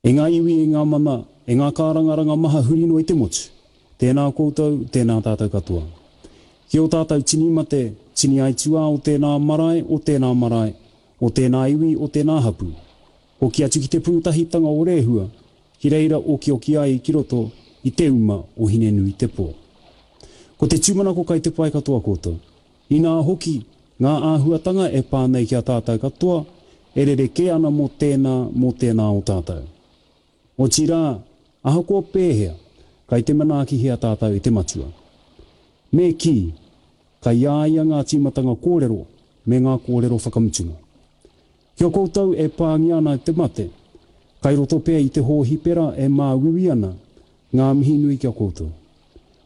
E ngā iwi, e ngā mana, e ngā kārangaranga maha huri noa i te motu, tēnā koutou, tēnā tātou katoa. Ki ō tātou tini mate, tini aituā o tēnā marae, o tēnā marae, o tēnā iwi, o tēnā hapū. Hoki atu ki te pūtahitanga o Rēhua, ki reira okioki ai ki roto i te uma o Hinenuitepō. Ko te tūmanako kai te pai katoa koutou. Inā hoki, ngā āhuatanga e pā nei ki a tātou katoa, e rerekē ana mō tēnā, mō tēnā o tātou. Otirā, ahakoa pēhea, kai te manaakihia tātou e te Matua. Me kī, kai a ia ngā tīmatanga kōrero me ngā kōrero whakamutunga. Ki a koutou e pāngia ana e te mate, kai roto pea i te hōhipera e māuiui ana, ngā mihi nui ki a koutou.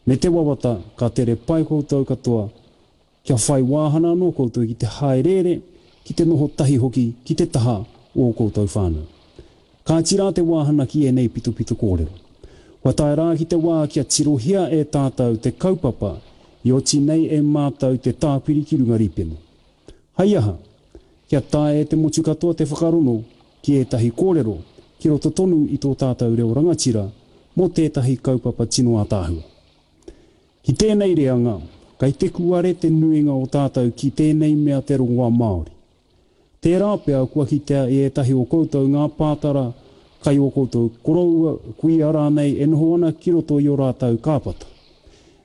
Me te wawata ka tere pai koutou katoa, kia whai wāhana anō koutou ki te hāereere, ki te noho tahi hoki ki te taha o ō koutou whānau. Kāti rā te wāhana ki ēnei pitopito kōrero. Kua tae rā ki te wā kia tirohia e tātou te kaupapa i oti nei e mātou te tāpiri ki runga rīpene. Hai aha? Kia taea e te motu katoa te whakarono ki ētahi kōrero ki roto tonu i tō tātou reo rangatira mō tētahi kaupapa tino ātaahua. Ki tēnei reanga, kei te kuare te nuinga o tātou ki tēnei mea te rongoā Māori. Tērā pea kua kitea e ētahi o koutou ngā pātara kai ō koutou koroua, kuia rānei e noho ana ki roto i ō rātou kāpata.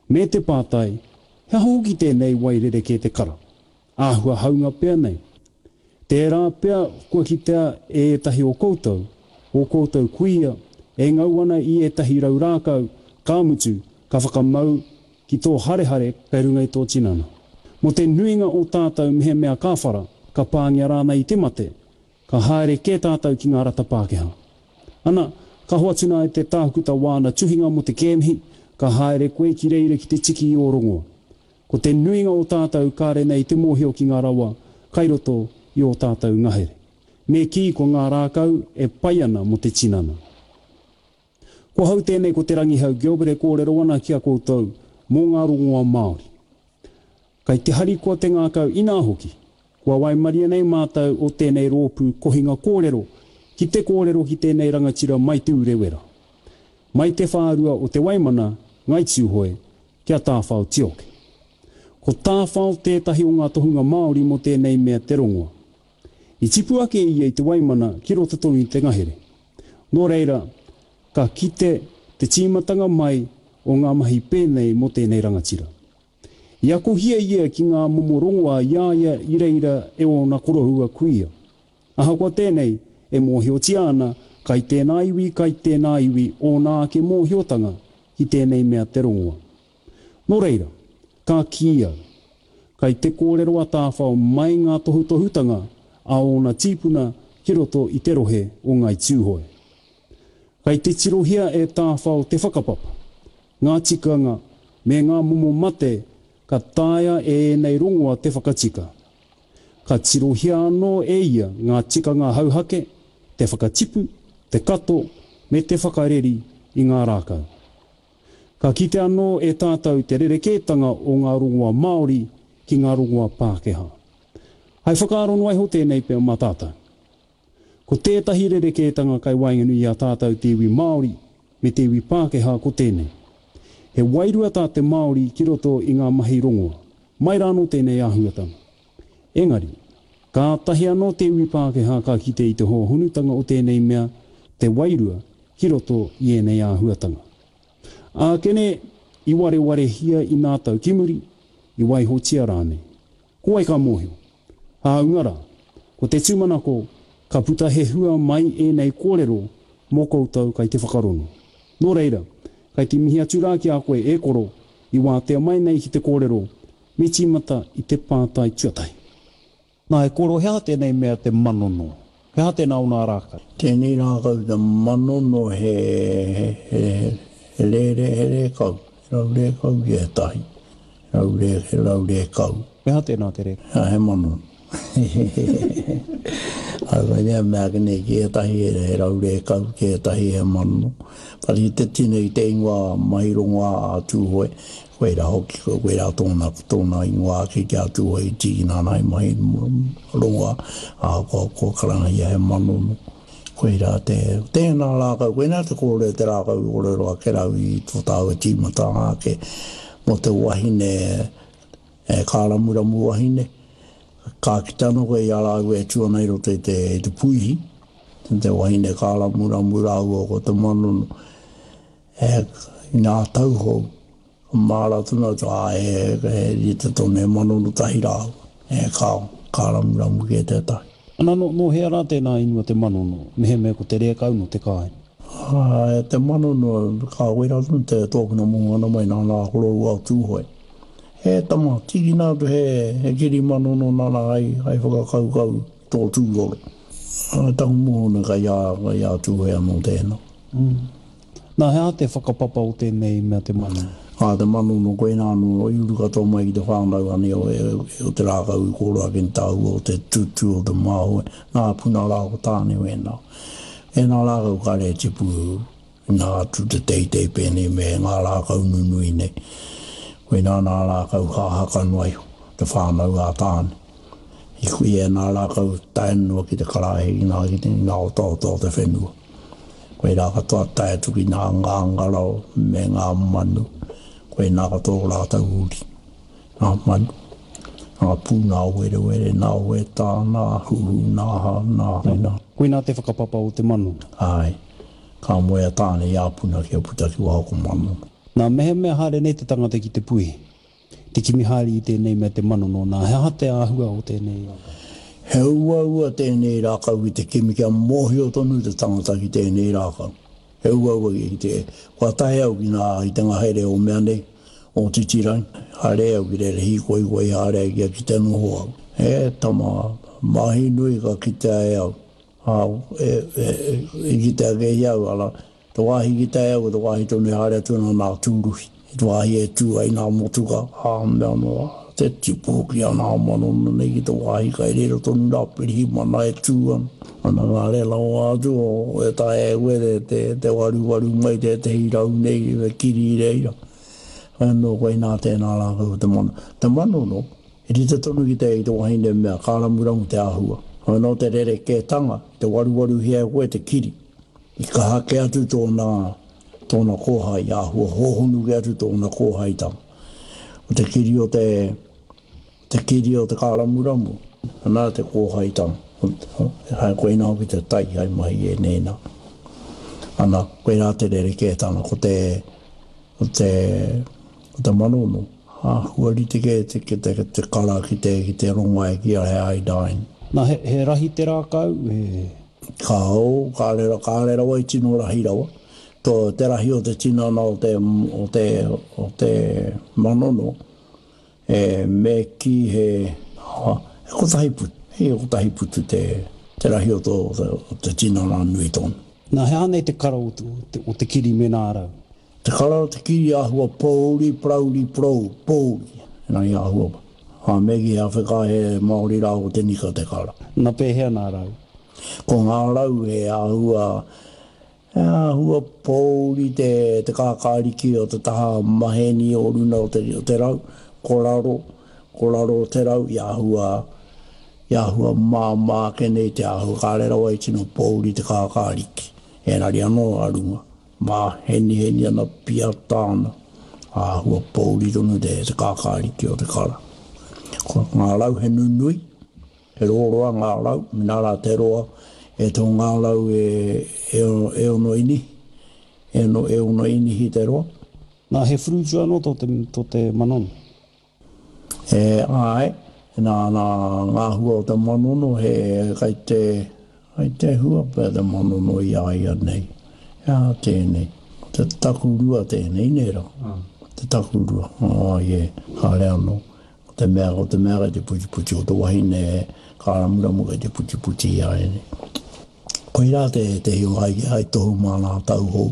Me te pātai, he aha hoki tēnei wai rerekē te kara? Āhua haunga pea nei. Tērā pea kua kitea e ētahi o koutou, ō koutou kuia, e ngau ana i ētahi rau rākau, ka mutu, ka whakamau ki tō harehare kei runga i tō tinana. Mō te nuinga o tātou mehemea ka whara, ka pāngia rānei i te mate, ka haere kē tātou ki ngā rata Pākehā. Ana, ka hoatu nā e te tākuta wāna tuhinga mō te kēmihi, ka haere koe ki reira ki te tiki i ō rongoa. Ko te nuinga o tātou kāre nei te mōhio ki ngā rawa kai roto i ō tātou ngahere. Me kī ko ngā rākau e pai ana mō te tinana. Ko hau tēnei ko Te Rangihau Gilbert e kōrero ana ki a koutou mō ngā rongoa Māori. Kai te harikoa te ngākau inā hoki, kua waimaria nei mātou o tēnei rōpū kohinga kōrero ki te kōrero ki tēnei rangatira mai Te Urewera. Mai te whārua o Te Waimana, Ngai Tūhoe, ki a Tāwhao Tioke. Ko Tāwhao tētahi o ngā tohunga Māori mō tēnei mea te rongoa. I tipu ake ia i Te Waimana ki roto tonu i te ngahere. Nō reira, ka kite te tīmatanga mai o ngā mahi pēnei mō tēnei rangatira. I akohia ia ki ngā momo rongoa i a ia i reira e ōna koroua kuia. Ahakoa tēnei, e mōhiotia ana, kai tēnā iwi, kai tēnā iwi ōna ake mōhiotanga ki tēnei mea te rongoa. Nō reira, ka kī au, kai te kōrero a Tāwhao mai ngā tohutohutanga a ōna tīpuna ki roto i te rohe o Ngāi Tūhoe. Kai te tirohia e Tāwhao te whakapapa, ngā tikanga me ngā momo mate ka taea e ēnei rongoa te whakatika. Ka tirohia anō e ia ngā tikanga hauhake, te whakatipu, te kato, me te whakareri i ngā rākau. Ka kite anō e tātou te rerekētanga o ngā rongoa Māori ki ngā rongoa Pākehā. Hai whakaaro noa iho tēnei pea mā tātou. Ko tētahi rerekētanga kai waenganui i a tātou te iwi Māori me te iwi Pākehā ko tēnei. He wairua tā te Māori ki roto i ngā mahi rongoa. Mai rānō tēnei āhuatanga. Engari, kātahi anō te iwi Pākehā ka kite i te hōhonutanga o tēnei mea, te wairua, ki roto i ēnei āhuatanga. Ākene, i warewarehia i nā tau ki muri, i waihotia rānei. Ko wai ka mōhio? Hāunga rā, ko te tūmanako ka puta he hua mai ēnei kōrero mō koutou kai te whakarongo. Nō reira, kai te mihi atu rā ki a koe e koro i wātea mai nei ki te kōrero, me tīmata i te pātai tuatahi. Nā, e koro, he aha tēnei mea te manono? He aha tēnā o nā rākau? Tēnei rākau te manono he, he, he, he rere, he rēkau, he rau rēkau ki ētahi, he rau rē, he rau rēkau. He aha tēnā te rēkau? He manono. Ai koinei mea ake nei ki ētahi he rau rēkau, ki ētahi he manono. But i te tino i te ingoa mahi rongoā a Tūhoe, Koirā hoki, koirā tōna, tōna ingoa ake ki a Tūhoe i tīkina ana i mahi rongoā, ahakoa kua karangahia he manono. Koirā te, tēnā rākau, koinā te kōrero, te rākau i kōrero ake rau i tō tāua tīmatanga ake mō te wahine e kāramuramu wahine. Ka kite anō koe i a rāua e tū ana i roto i te, i te puihi, te wahine kāramuramu rāua ko te manono, e, i ngā tauhou. Māra tonu atu, ā, he, he rite tonu, he manono tahi rāua, e kāo, ka ramuramu kē tētahi. Ana, nō, nō hea rā tēnā ingoa te manono, mehemea ko te rēkau nō te kāinga? Ā, e te manono, ka wera tonu te tōkina mō ana mai nā nā koroua o Tūhoe. He tama, tīkina atu he, he kiri manono nana hai, hai whakakaukau i tō tūroro. Ā, taku mōhio kai a, kai a Tūhoe anō tēnā. Nā, he aha te whakapapa o tēnei mea te manono? Ā, te manono, koinā anō i uru katoa mai ki te whānau anei o, o te rākau i kōrero ake ni tāua o te tutu o te māhoe, nā puna rā ko Tāne wēnā. Ēnā rākau kāre e tipu inā atu te teitei pēnei me ngā rākau nunui nei. Koinā nā rākau hāhaka noa iho, te whānau a Tāne. I kui ēnā rākau tae noa ki te karaehe ki ngā, ki ngā otaota o te whenua. Koirā katoa tae atu ki ngā ngāngara me ngā manu, koinā katoa o rātou uri. Ngā manu, ngā pū, ngā werewere, ngā wētā, ngā huhu, ngā aha, ngā rena. Koinā te whakapapa o te manu. Āe, ka moe a Tāne i a Puna kia puta ki waho ko Manu. Nā, mehemea haere nei te tangata ki te puihi, te kimi haere i tēnei mea te manono, nā, he aha te āhua o tēnei rākau? He uaua tēnei rākau ki te kimi kia mōhio tonu te tangata ki tēnei rākau. He uaua ki te, kua tae au ki ngā, i te ngahere o mea nei, o Titirangi, haere au ki reira hīkoikoi haere ai kia kite noho au. He tama, mahi nui ka kitea e au, ā, e, e, i kitea kē i au, arā, Te wāhi ki tae au, ko te wāhi tonu e haere atu ana nā tūruhi. I te wāhi e tū ai nā motuka, ā, mea anō, te tipu hoki a nā manono nei ki te wāhi kai reira tonu nā pirihimana e tū ana. Ana nā reira rawa atu o, e taea e koe te, te, te waruwaru mai tētehi rau nei me kiri i reira. Anō koinā tēnā rākau o te mano. Te manono, he rite tonu ki te, ki te wahine mea, kāramuramu te āhua. Anō te rerekētanga, te waruwaruhia e koe te kiri. I kaha kē atu tōna, tōna kōhai, i āhua hōhonu kē atu tōna kōhaitanga. Ko te kiri o te, te kiri o te kāramuramu, ana te kōhaitanga. Hai koina hoki te tai hai mahi i ēnei nā. Ana, koirā te rerekētanga, ko te, ko te, ko te manono, āhua rite kē te, te, te, te kara ki te, ki te rongoai ki a he iodine. Nā, he, he rahi te rākau, he. Kāo, kāre, kāre rawa i tino rahi rawa. Tō, te rahi o te tinana o te, o te, o te manono, e, me kī he, ha, he kotahi putu, he kotahi putu te, te rahi o tō, o te tinana nui tonu. Nā, he aha nei te kara o te, o te kiri me nā rau? Te kara o te kiri āhua pōuri, parauri, porou, pōuri, engari āhua, ā, me kī he awheka he Māori rā ko te nika te kara. Na pēhea nā rau? Ko ngā rau he āhua, he āhua pōuri te, te kākāriki o te taha maheni o runa o te, o te rau, ko raro, ko raro o te rau i āhua, i āhua māmā ake nei te āhua, kāre rawa i tino pōuri te kākāriki, engari anō a runga. Māheniheni ana, piata ana, āhua pōuri tonu te kākāriki o te kara. Ko ngā rau he nunui, he roroa ngā rau, mēnā rā te roa e tō ngā rau e, e, e ono inihi, e ono, e ono inihi te roa. Nā, he whurutu anō tō te, tō te manono? E, āe, nā, nā ngā hua o te manono he kai te, kai te hua pea te manono i a ia nei. He aha tēnei? Ko te takurua tēnei, nē rā? Te takurua, āe, kāre anō. Ko te mea, ko te mea kai te putiputi, ko te wahine kāramuramu kai te putiputi i a ia nei. Koirā tētehi o hai, hai tohu mā ngā tau hou,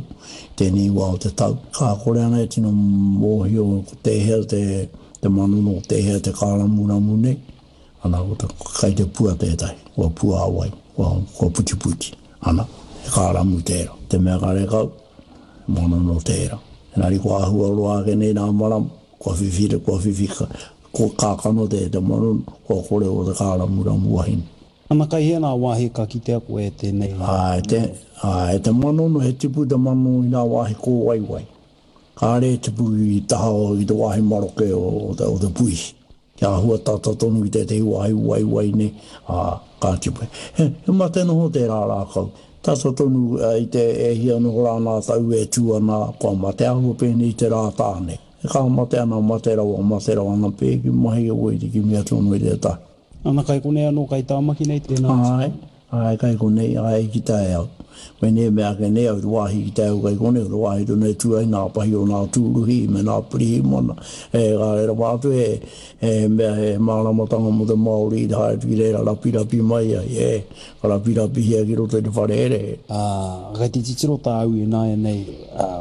tēnei wā o te tau. Ka kore ana e tino mōhio ko tēhea te, te manono, ko tēhea te kāramuramu nei, ana, ko te, kai te pua tētahi, kua puāwai, kua, kua putiputi, ana, he kāramu tērā. Te mea karekau, he manono tērā. Engari kua āhua roa ake nei nā marama, kua whiwhi, kua whiwhi, kua kākano te, te manono, kua kore o te kāramuramu wahine. Ana kai hea nā wāhi ka kitea koe e tēnei Āe, te, āe, te manono, he tipu te manono i nā wāhi kōwaiwai. Kāre e tipu i taha o, i te wāhi maroke o, o te, o te puihi. Kia āhua tata tonu ki tētehi wāhi waiwai nei, ā, ka tipu. He, he mate noho tērā rākau. Tata tonu i te e hia noho rā nā tau e tū ana, kua mate āhua pēnei i te rā tāne. Ka mate ana, mate rawa, mate rawa ana, pēki mahi e wai te kimi atu anō i tētahi. Ana kai konei anō, kai Tāmaki nei tēnā atu. Āe, āe, kai konei, āe, i kitea e au. Koinei e mea ake nei au, te wāhi i kitea e au kai konei, ko te wāhi tonu e tū ai nā pahi o nā tūruhi me nā pirihimana. E, kāre rawa atu he, he mea, he māramatanga mō te Māori i haere atu ki reira rapirapi mai ai, e, ka rapirapihia ki roto i te whare herehere. Ā, kai te titiro tāu ināianei, ā,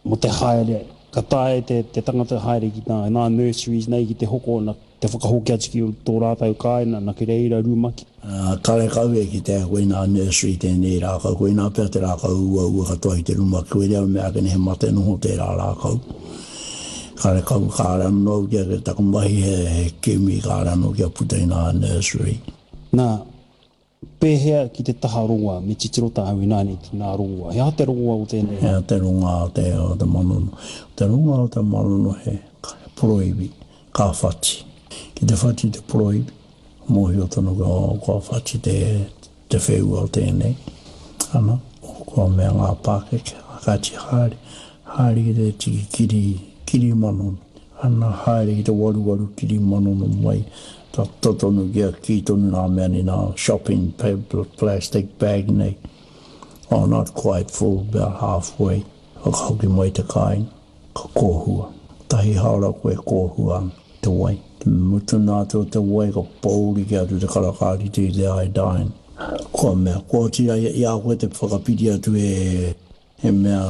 mō te haere, ka taea e te, te tangata haere ki tā, nā nurseries nei ki te hoko, na, te whakahoki atu ki tō rātou kāinga, na ki reira rumaki. Ā, karekau e kitea koinā nursery tēnei rākau, koinā pea te rākau uaua katoa i te rumaki, koirā mea ake nei he mate noho tērā rākau. Karekau, kāre anō au kia, taku mahi he, he kimi, kāre anō kia puta i ngā nursery. Nā, Pēhea ki te taha rongoa? Me titiro tāu ināianei ki ngā rongoa. He aha te rongoa o tēnei? He aha te rongoa o te, o te manono? Te rongoa o te manono he, he poroiwi, ka whati. Ki te whati te poroiwi, mōhio tonu kua, kua whati te, te wheua o tēnei. Ana, kua mea ngā pākeke, kāti haere, haere ki te tiki kiri, kiri manono. Ana, haere ki te waruwaru kiri manono mai, Tata tonu kia kī tonu nā mea nei nā shopping plastic bag nei. Oh, not quite full, about halfway. Whakahoki mai te kāinga, ka kōhua. Tahi haora koe kōhua ana te wai. Te mutuna atu o te wai ka pōuri kē atu te karaka rite i te iodine. Kua mea, kua oti i a koe te whakapiri atu e He mea,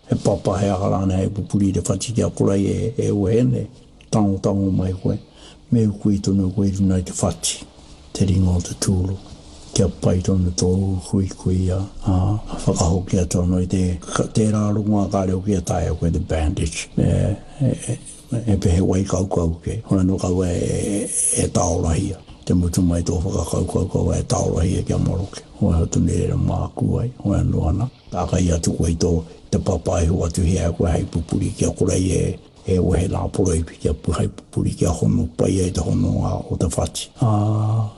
he papa, he aha rānei hei pupuri i te whati kia kore ai e wehe nei. Tangotango mai koe, me ukui tonu koe i runga i te whati, te ringa o te tūru, kia pai tonu tō ukuikuia, ā, ka whakahoki atu anō i te, tērā rongoā kāre hoki e taea koe te bandage, e, e, e, he wai kaukau kē, hoi anō kaua e, e tāorahia, te mutu mai tō whakakaukau kaua e tāorahia kia maroke. Waiho tonu i reira māku ai, hoi anō ana, tākai atu koe i tō, te papa e hoatu hea koe hei pupuri kia kore ai e, e wehe nā poroiwi kia hei pupuri kia hono pai ai te hononga o te whati. Ā,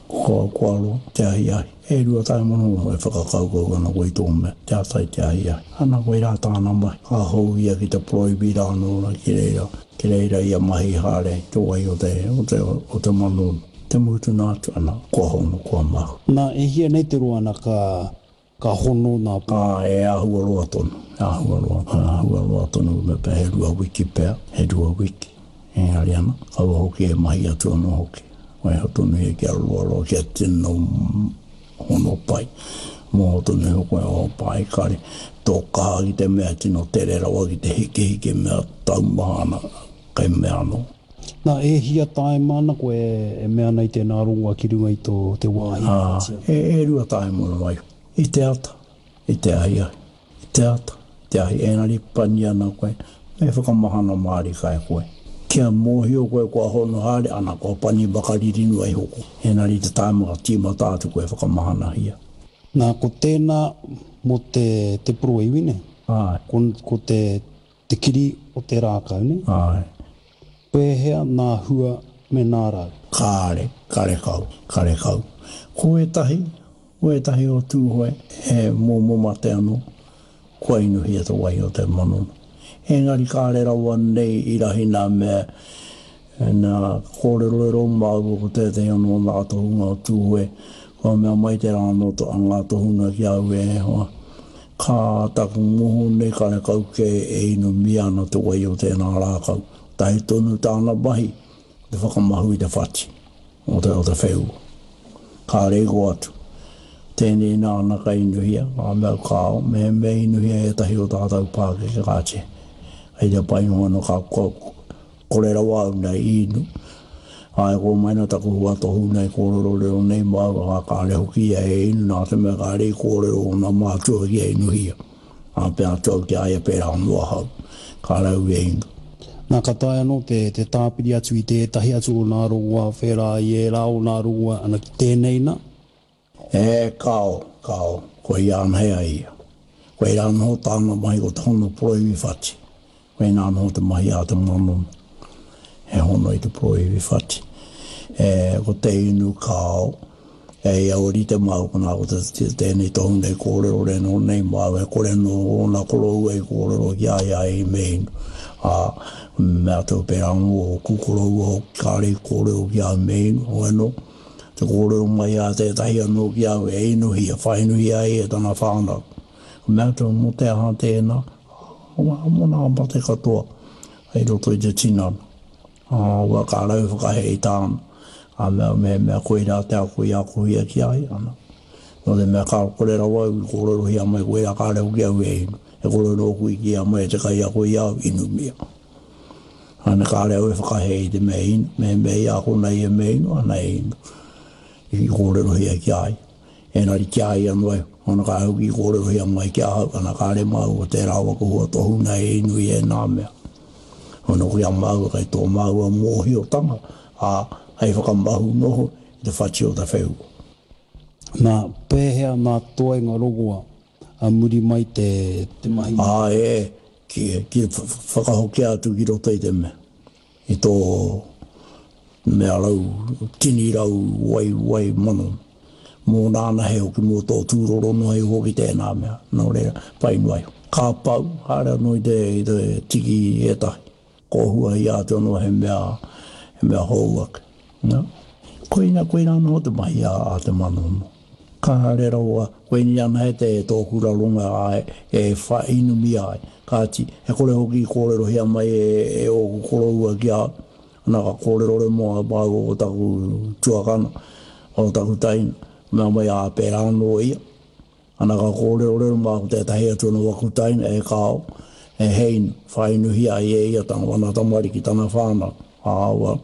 kua, kua roa te ahiahi, e 10 e whakakaukau ana koe i tō mea, te ata i te ahiahi. Ana koirā tāna mahi, ka hou ia ki te poroiwi rā anō rā ki reira, ki reira ia mahi haere te wai o te, o te, o te manono. Te mutunga atu ana, kua hono, kua mau. Na, e hia nei te roa ana ka, ka hono na. A, e ahua roa tonu, e ahua roa, e ahua roa tonu, me pea he rua wiki pea, he rua wiki. Engari ana, kaua hoki e mahi atu ano hoki. Waiho tonu ia kia roa roa, kia tino hono pai. Moho tonu iho koe o pai, kare, tō kaha ki te mea tino tere rawa ki te hikehike mea taumaha ana, kei mea anō. Nā, e hia tāima ana koe e mea ana i tēnā rongoa ki runga i tō te wāhi Ā, e, e rua tāima noa iho. I te ata, i te ahiahi, i te ata, i te ahi, engari pani ana koe, me whakamahana mārika e koe. Kia mōhio koe kua hono haere, ana, kua pani makariri noa iho koe. Engari i te tāima ka tīmata atu koe whakamahanahia. Nā, ko tēnā mō te, te poroiwi, nē? Āe. Ko, ko te, Te kiri o te rākau, nē? Āe. Pēhea nā hua me nā rau? Kāre, karekau, karekau. Ko ētahi, ko ētahi o Tūhoe, he momo mate anō, kua inuhia te wai o te manono. Engari kāre rawa nei i rahi nā mea, nā kōrerorero māua ko tētahi anō o ngā tohunga o Tūhoe, kua mea mai tērā anō a ngā tohunga ki a au e hoa, Ka taku moho nei karekau kē e inumia ana te wai o tēnā rākau. Tahi tonu tāna mahi, ko te whakamahu i te whati o te, o te wheua. Kāre i kō atu. Tēnei nāna ka inuhia, ka mea kāo, mehemea inuhia ētahi o tātou pākeke kāti. Hei te pai noa anō ka, Kore rawa au nei i inu. Āe, kua mai nā taku hua tohu nei kōrerorero nei māua, ā, kāre hoki ia e inu nā te mea kāre i kōrero ōna mātua ki a inuhia. Ā, pea atu au ki a ia pērā anō ahau, kāre au e inu. Nā, ka taea anō te, te tāpiri atu i tētahi atu o nā rongoā whērā i ērā o nā rongoā, ana ki tēnei nā. E kao, kao, koia anahe a ia. Koirā noho tāna mahi ko te hono poroiwi whati. Koinā noho te mahi a te manono, he hono i te poroiwi whati. E, ko te inu kao, e ia o rite māu konā ko te, tēnei tohu nei kōrero re nō nei māu, e kore nō ōna koroua i kōrero ki a ia i me inu. Ā, mea atu pērā anō ōku koroua hoki kāre i kōrero ki a au me inu, hoi anō, te kōrero mai a tētahi anō ki a au e inuhia, whainuhia ai e tana whānau. Ka mea atu, mō te aha tēnā? Ā, mō nā mate katoa i roto i te tinana. Ā, ua ka rau whakahē i tāna. Ka mea, mehemea koirā te ako i akohia ki a ia, ana. Nō te mea ka kore rawa au i kōrerohia mai koirā kāre hoki au e inu. E kore nōku i kīia mai e te kaiako i a au, inumia. Ana kāre au e whakahē i te mea inu, mehemea i akona ia me inu, ana e inu. I kōrerohia ki a ia. Engari ki a ia noa iho, ana ka hoki i kōrerohia mai ki ahau, ana kāre māua tērā waka hua tohuna e inu i ēnā mea. Hono ki a māua kei tō māua mōhiotanga, ā, hei whakamahu noho i te whati o te wheua. Nā, pēhea nā toenga rongoa a muri mai te, te mahi? Ā, e, ki, ki whakahokia atu ki roto i te mea. I tō mea rau, tini rau wai, wai mano. Mōna anahe hoki, mō tō tūroro noa iho hoki tēnā mea. Nō reira, pai noa iho. Ka pau, haere anō i te, i te tiki i ētahi. Kōhuahia atu anō he mea, he mea hou ake. Nā. Koina, koina anō te mahi a, a te manono. Kāre rawa, koinei anahe te tōku raronga āe e whainumia ai. Kāti, he kore hoki i kōrerohia mai e ōku koroua ki a au. Ana ka kōrerore mō a māua ko taku tuakana, o taku taina, mea mai ā pērā anō ia. Ana ka kōrerorero mā ko tētahi atu anō aku taina, e kāo, e Hein, whāinuhia ai e ia tana wana tamariki, tana whānau. Ā, well,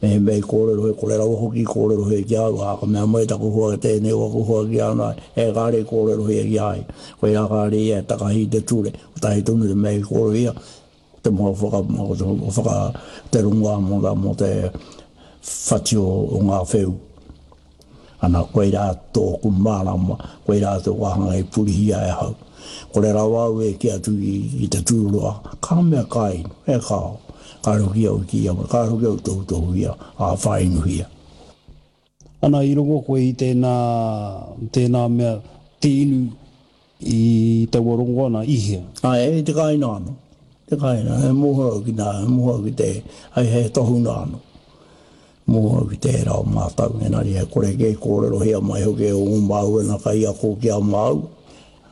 mehemea i kōrero he kore rawa hoki i kōrerohia ki a au, ā, ka mea mai taku hoa tēnei o aku hoa ki a au, e kāre i kōrerohia ki a ia. Koirā kāre ia e takahi i te ture, kotahi tonu te mea i kōrerohia, ko te moa whaka, ko te whaka, te rongoā mō, mō te whati o, o ngā wheu. Ana, koirā tōku mārama, koirā te wāhanga i purihia e ahau. Kore rawa au e kī atu i te tūroa, ka mea ka inu, e kāo. Kāre hoki au i kī ia, kāre hoki au i tohutohuhia, ā, whāinuhia. Ana, i rongo koe i tēnā, tēnā mea, te inu i taua rongo ana, i hea? Āe, i te kāinga anō. Te kāinga, he mōhio au ki nā, he mōhio au ki te, hei, he tohunga anō. Mōhio au ki tērā o mātou, engari he kore kē i kōrerohia mai hoki e ō māua nā kaiako ki a māua.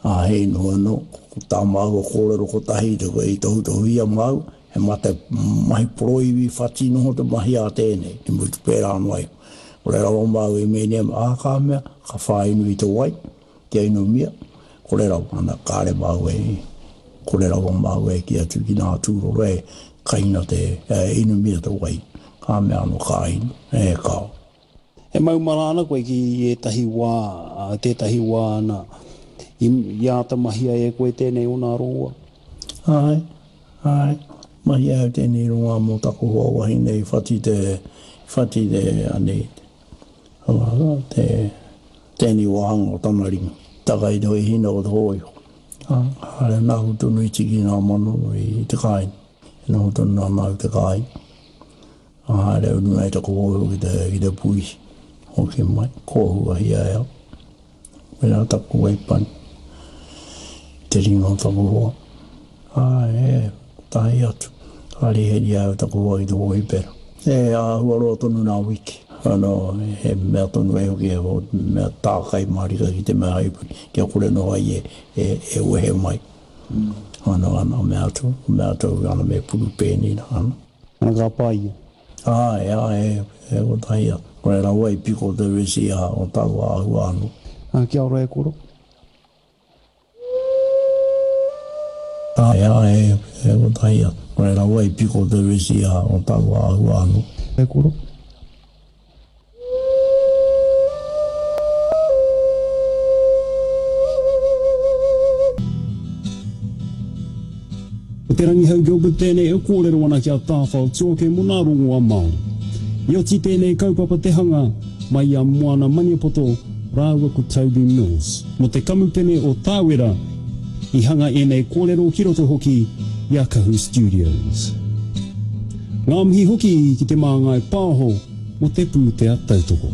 Ā, he inu anō, ko tā māua kōrero kotahi i te i tohutohuhia māua, he mate mahi poroiwi whati noho te mahi a tēnei, i mutu pērā noa iho. Kore rawa māua i mēnei, ā, ka mea, ka whāinu i te wai. Kia inumia, kore rawa ana, kāre māua e, kore rawa māua e kī atu ki nā tūroro e kaina te, e inumia te wai, ka mea anō ka inu, e kāo. E maumara ana koe ki ētahi wā, tētahi wā ana, i, i āta mahia e koe tēnei o nā rongoa? Āe, āe, mahia au tēnei rongoa mō taku hoa wahine i whati te, i whati te, anei, Te tēnei wāhanga o tana ringa. Taka i te hina o te hōiho. Haere nāku tonu i tiki ngā mano i te kāinga. E noho tonu ana au te kāinga. Haere au runga i taku hōiho ki te, ki te puihi. Hoki mai, kōhuahia e au. Koirā taku waipani. Te ringa o taku hoa. Āe, e, kotahi atu. Ka riheri au taku hoa i te hōhipera. E āhua roa tonu nā wiki. Anō, he mea tonu e hoki, he mea tākai mārika ki te mea haipuri, kia kore noa ai e, e, e wehe mai. Anō, ana, mea atu, mea atu, ana me puru pēnei nā, ana. Ana ka pā ia. Āe, āe, e kotahi atu. Kore rawa i piko te resi a o taua āhua anō. Ā, kia ora e koro. Āe, āe, e kotahi atu. Kore rawa i piko te resi a o taua āhua anō. E koro. Ko Te Rangihau Gilbert tēnei e kōrero ana ki a Tāwhao Tuoke mō nā rongoa Māori. I oti tēnei kaupapa te hanga mai i a Moana Maniapoto. rāua ko Toby Mills mō te kamupene o Tāwera i hanga ēnei kōrero ki roto hoki i a Kahu Studios. Ngā mihi hoki ki Te Māngai Pāho mō te pūtea tautoko.